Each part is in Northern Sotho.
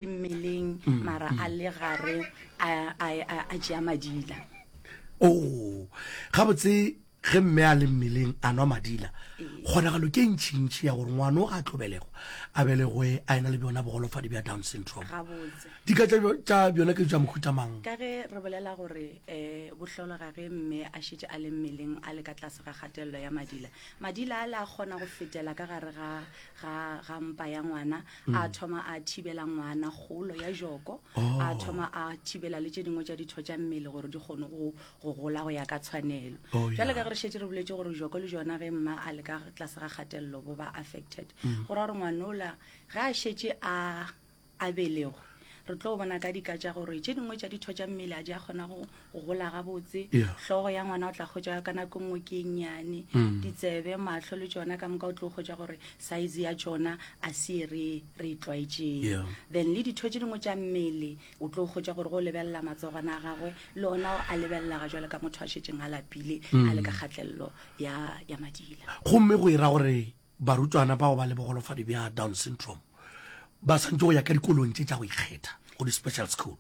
Mmeleng mara a le gare a, a, a, a tšea madila. Oo, gabotse ge mme a le mmeleng a nwa madila, kgonagalo ke e ntšintši ya gore ngwana o ga a tlo belegwa a belegwe a ena le bjona bogolofadi bja Down syndrome. Gabotse. Dika tša tša bjona ke tša mohuta mang? Ka ge re bolela gore um bo hlologa ge mme a šetše a le mmeleng a le ka tlase ga kgatelelo ya madila, madila ale a kgona go fetela ka gare ga, ga, ga mpa ya ngwana a thoma a thibela ngwana kgolo ya joko oh. a thoma a thibela le tše dingwe tša ditho tša mmele gore di kgone go go gola go ya ka tshwanelo oh, jale ka ge re šetse re boletse gore joko le jona ge mma a le ka tlase ga kgatelelo bo ba affected mm. go ra gore ngwanola ge a šetse a a belegwe re tlo bona ka dika tša gore tše dingwe tša ditho tša mmele a di a kgona go gola gabotse hlogo ya ngwana o tla kgotsa ka nako nngwe ke e nnyane mm. ditsebe mahlo le tšona ka moka o tlo kgotsa gore size ya tšona a se e re re e tlwaetšeng then le ditho tše dingwe tša mmele o tlo kgotsa gore go lebelela matsogwana a gagwe le ona a lebelela ga jwale ka motho a šetšeng a lapile a le ka mm. kgatelelo ya ya madila gomme go e ra gore Barutwana bao ba le bogolofadi bja Down syndrome ba swantše go ya ka dikolong tše tša go ikgetha, go di-special school.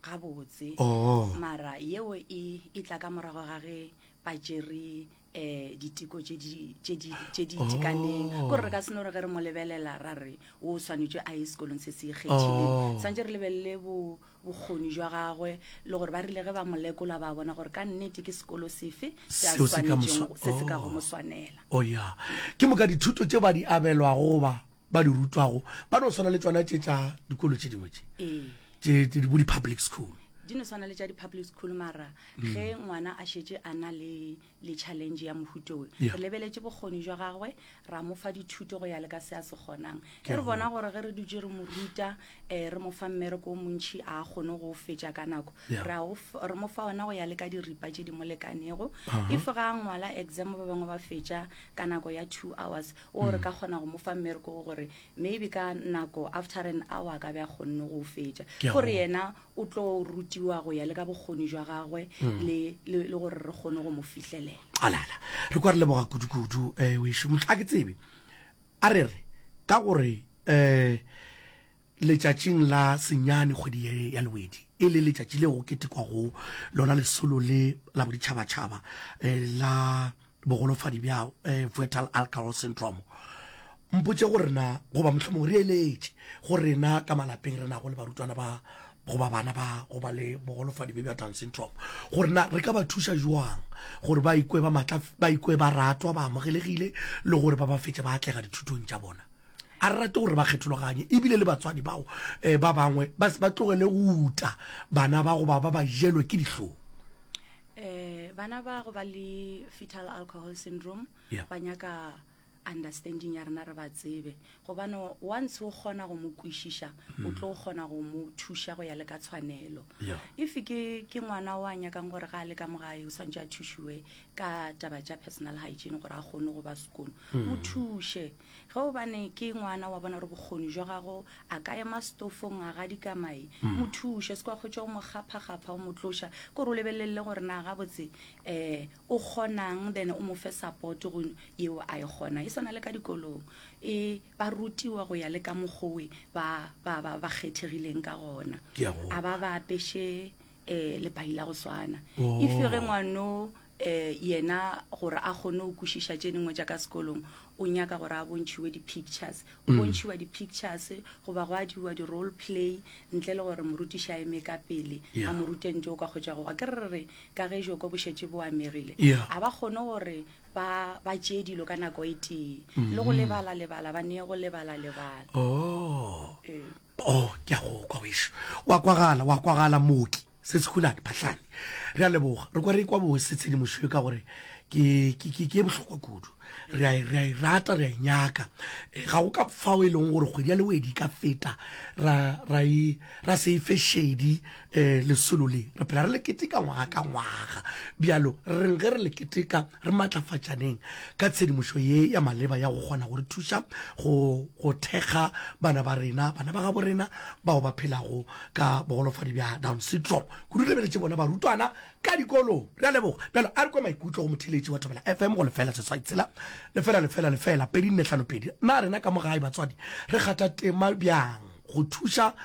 Gabotse. Oh. Mara yeo e e tla ka morago ga ge ba tšere um diteko tše di tše di tše di itekaneng. Oh. Kore re ka se no re ge re mo lebelela ra re o swanetše a ye sekolong se se ikgethileng. Oh. Swantše re lebelele bo bokgoni jwa gagwe le gore ba rile ge ba mo lekola ba bona gore ka nnete ke sekolo sefe se a swanetšego se se ka go mo swanela. O ya. Ke moka dithuto tše ba di abelwago goba ba di rutwago ba no swana le tšona tše tša dikolo tše dingwe tše. Ee. Tše tše bo di-public school. Di no swana le tša di-public school mara ge ngwana a šetše a na le le challenge ya mohuta o Yeah. re lebeletše bokgoni jwa gagwe ra mo fa dithuto go ya le ka se a se kgonang Ke ge re bona go. gore ge re dutše re mo ruta um re mo fa mmereko o montšhi a kgone go o fetša ka nako Yeah. re a o f- re mo fa ona go ya le ka diripa tše di mo lekanego Aha. if ga a ngwala exam ba bangwe ba fetša ka nako ya 2 hours o re ka kgona go mo fa mmereko wo gore maybe ka nako after an hour a ka be a kgonne go o fetša Ke a gore go. yena o tlo rutiwa go ya le ka bokgoni jwa gagwe le, le, le gore re kgone go mo fihlelela. Alala, re kwa re leboga kudu-kudu um wešo. Mohla ke tsebe, a re re, ka gore um letšatšing la senyane kgwedi ye ya Lewedi, e le letšatši le go ketekwago lona lesolo le la boditšhabatšhaba um la bogolofadi bja eh, Fetal Alcohol Syndrome. Mpotše gore na, goba mohlomong re eletše go rena ka malapeng re nago le barutwana ba goba bana ba go ba le bogolofadi bjo bja Down syndrome, gore na re ka ba thuša jwang gore ba ikwe ba matla, ba ikwe ba ratwa, ba amogelegile le gore ba ba fetše ba atlega dithutong tša bona. A re rate gore ba kgethologanye ebile le batswadi bao eh, ba bangwe ba se ba tlogele go uta bana ba goba ba ba jelwe ke dihlong. Eh, bana ba go ba le fetal alcohol syndrome Yeah. ba nyaka understanding ya rena re ba tsebe gobane once o kgona go mo kwešiša o tlo kgona go mo thuša go ya le ka tshwanelo Yeah. if ke ke ngwana o a nyakang gore ga a le ka mo gae o swantše a thušiwe ka taba tša personal hygiene gore a kgone go ba sekolo mo thuše Ge gobane ke ngwana wa bona gore bokgoni jwa gago a ka ema setofong a gadika mae, mo thuše, se kwa kgotša o mo kgapha-kgapha o mo tloša, ke gore o lebelelele gore na gabotse um o kgonang then o mo fe support go yeo a e kgonang. E swana le ka dikolong, e ba rutiwa go ya le ka mokgowe ba, ba, ba, ba kgethegileng ka gona. Ke a go A ba ba apeše um lepai la go swana. Oh. If ge ngwano um yena gore a kgone go kwešiša tše dingwe tša ka sekolong o nyaka gore a bontšhiwe di-pictures o mm. bontšhiwa di-pictures goba go adiwa di-role play ntle le gore morutiši a eme ka pele a mo rute ntse o ka kgotsa go ke re re ka ge joko bo šetše bo amegile a ba kgone gore ba ba tšee dilo ka nako e tee le go mm-hmm. lebala lebala ba nee go lebala lebala oh ee. oh ke a go kwa wešo wa kwagala wa kwagala mooki Se Sekhulane Phahlane. Re a leboga. Re kwa re ekwa bose tshedimošo ye ka gore ke, ke, ke, ke ye bohlokwa kudu. Re a, e, re a e rata, re a e nyaka. E, ga go ka fao e leng gore kgwedi ya Lewedi e ka feta ra, ra, e, ra se e fe šedi um lesolo le. Re phela re le keteka ngwaga ka ngwaga. Bjalo re reng ge re le keteka re matlafatšaneng ka tshedimošo ye ya maleba ya go kgona go re thuša go, go thekga bana ba rena, bana ba gabo rena bao ba phelago ka bogolofadi bja Down syndrome. Kudu re lebeletše bona barutwana ka dikolong. Re a leboga. Bjalo a re kwe maikutlo go motheeletši wa Thobela FM go lefela seswai tshela lefela lefela lefela 2452. Na rena ka mo gae batswadi re kgatha tema bjang? Go thuša go.